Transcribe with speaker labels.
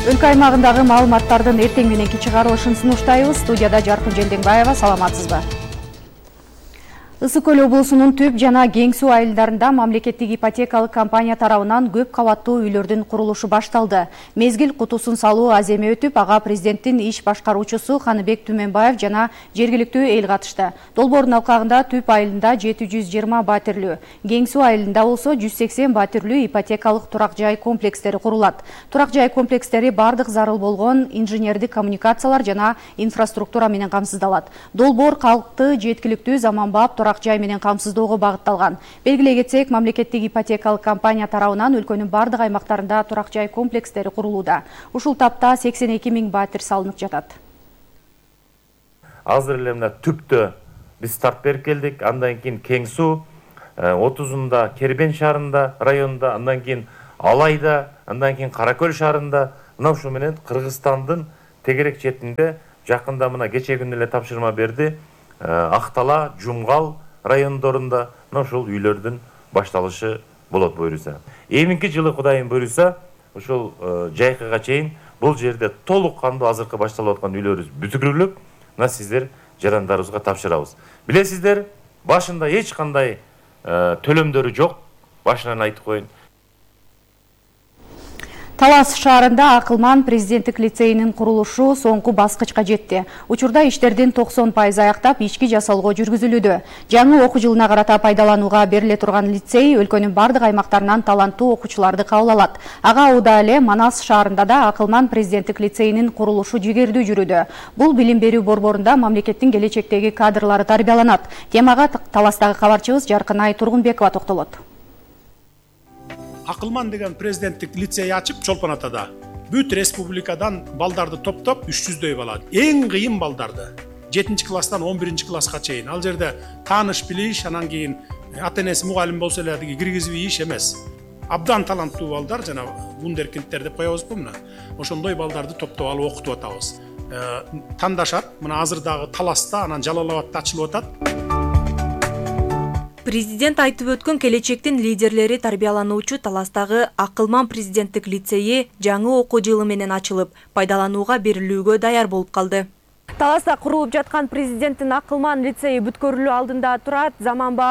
Speaker 1: Өлкө аймагындагы маалыматтардын эртең мененки чыгарылышын сунуштайбыз. Студияда Жаркын Желденбаева, саламатсызбы? Ысык Көл облусунун Түп жана Кең суу айылдарында мамлекеттик ипотекалык компания тарабынан көп кабаттуу үйлөрдүн курулушу башталды. Мезгил кутусун салуу аземе өтүп, ага президенттин иш башкаруучусу Ханыбек Түменбаев жана жергиликтүү эл катышты. Долбоордун алкагында Түп айылында 720 батирлүү, Кең суу айылында болсо 180 батирлүү ипотекалык турак жай комплекстери курулат. Турак жай комплекстери бардык зарыл болгон инженердик коммуникациялар жана инфраструктура менен камсыздалат. Долбоор калкты жеткиликтүү заманбап турак жай менен камсыздоого багытталган. Белгилей кетсек, мамлекеттик ипотекалык компания тарабынан өлкөнүн бардык аймактарында турак жай комплекстери курулууда. Ушул тапта 82 000 батир салынып жатат.
Speaker 2: Азыр эле мына Түптө биз старт берип келдик. Андан кийин Кең суу, 30-унда Кербен шаарында, районунда, андан кийин Алайда, андан кийин Каракөл шаарында, мына ушул менен Кыргызстандын тегерек четинде жакында мына кече күнү эле тапшырма берди. Актала, Жумгал райондорунда мына ушул үйлөрдүн башталышы болот буюрса. Эминки жылы Кудайым буюрса, ушул жайкыга чейин бул жерде толук кандуу азыркы башталып аткан үйлөрүбүз бүтүрүлүп, мына сиздер жарандарыбызга тапшырабыз. Билесиздер, башында эч кандай төлөмдөрү жок. Башынан айтып коеюн.
Speaker 1: Талас шаарында Акылман президенттик лицейинин курулушу соңку баскычка жетти. Учурда иштердин 90% аяктап, ички жасалгоо жүргүзүлүүдө. Жаңы окуу жылына карата пайдаланууга бериле турган лицей өлкөнүн бардык аймактарынан таланттуу окуучуларды кабыл алат. Ага Ауда эле Манас шаарында да Акылман президенттик лицейинин курулушу жигердүү жүрүүдө. Бул билим берүү борборунда мамлекеттин келечектеги кадрлары тарбияланат. Темага Таластагы кабарчыбыз Жаркынай Тургунбекова токтолот.
Speaker 3: Акылман деген президенттик лицей ачып Чолпон Атада. Бүт республикадан балдарды топтоп 300дөй бала. Эң кыйын балдарды 7-класстан 11-класска чейин. Ал жерде тааныш билиш, анан кийин ата-энеси мугалим болсо эле киргизип ийиш эмес. Абдан таланттуу балдар, жана вундеркиндтер деп коебузбу мына. Ошондой балдарды топтоп алып окутуп атабыз. Тандашат, мына азыр дагы Таласта, анан Жалал Абадта ачылып атат.
Speaker 4: Президент айтып өткөн келечектин лидерлери тарбиялануучу Таластагы Акылман президенттик лицейи жаңы окуу жылы менен ачылып, пайдаланууга берилүүгө даяр болуп калды.
Speaker 5: Таласта курулуп жаткан президенттин Акылман лицейи бүткөрүлүү алдында турат. Заманбап